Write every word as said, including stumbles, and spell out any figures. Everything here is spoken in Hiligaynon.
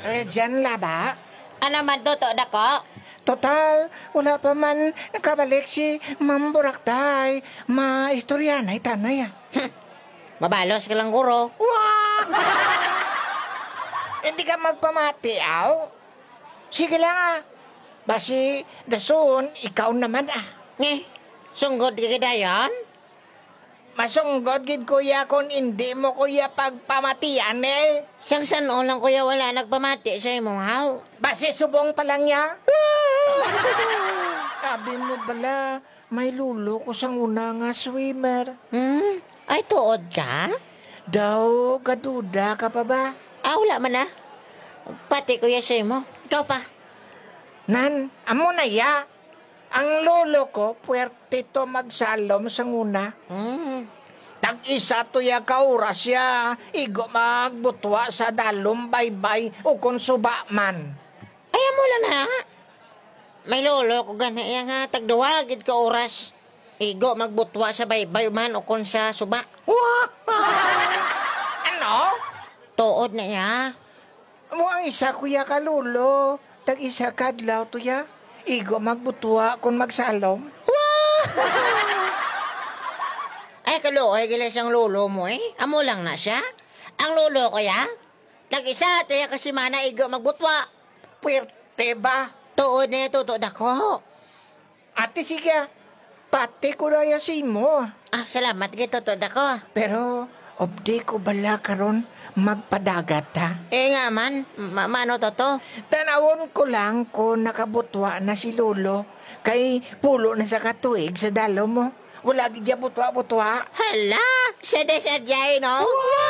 Eh, dyan la ba? Ano man, Toto Dako? Total, wala pa man nakabalik si Ma'am Burakday. Maistorya na itanay, ah. Hmm. Mabalos ka lang, guro. Wah! Hindi ka magpamati, aw? Sige lang, ah. Basi, dason, ikaw naman, ah. Nge, sunggod ka dayon? Masunggod gid, kuya, kon indi mo, kuya, pagpamatian, eh. Sang san-o lang, kuya, wala nagpamati sa imo, haw? Basi subong pa lang niya. Abi mo bala, may lolo ko sang una nga swimmer. Hmm? Ay, tuod ka? Daw, gaduda ka pa ba? Ah, wala man na. Pati, kuya, sa imo. Ikaw pa. Nan, amo na ya. Ang lolo ko, puwerte to magsalom sang una. Mm. Tag-isa to ya ka oras ya, igo magbutwa sa dalom, baybay, o kon suba man. Ay, amo lang na. May lolo ko gani ya nga tagduwa gid ka oras. Igo magbutwa sa baybay man o kon sa suba. Wow! Ano? Tuod na ya. Amo ang isa, kuya, ka lolo. Tag-isa ka adlaw to ya. Igo magbutwa kon magsalom. Wow! Ay, kaluoy gila sang lolo mo, eh. Amo lang na siya. Ang lolo ko ya, tag-isa to ya ka semana igo magbutwa. Puwerte ba? Tuod na ya, Toto Dako. Ate, sige, ah. Pati ko na ya sa imo. Ah, salamat kay Toto Dako. Pero, updi ko bala karon magpadagat, ha? Eh, nga man, ma-, mano, Toto? Tanawon ko lang kung nakabutwa na si Lolo, kay pulo na sa katuig sa dalom mo. Wala gid ya butwa-butwa. Hala, sadya-sadya, eh, no? Wow!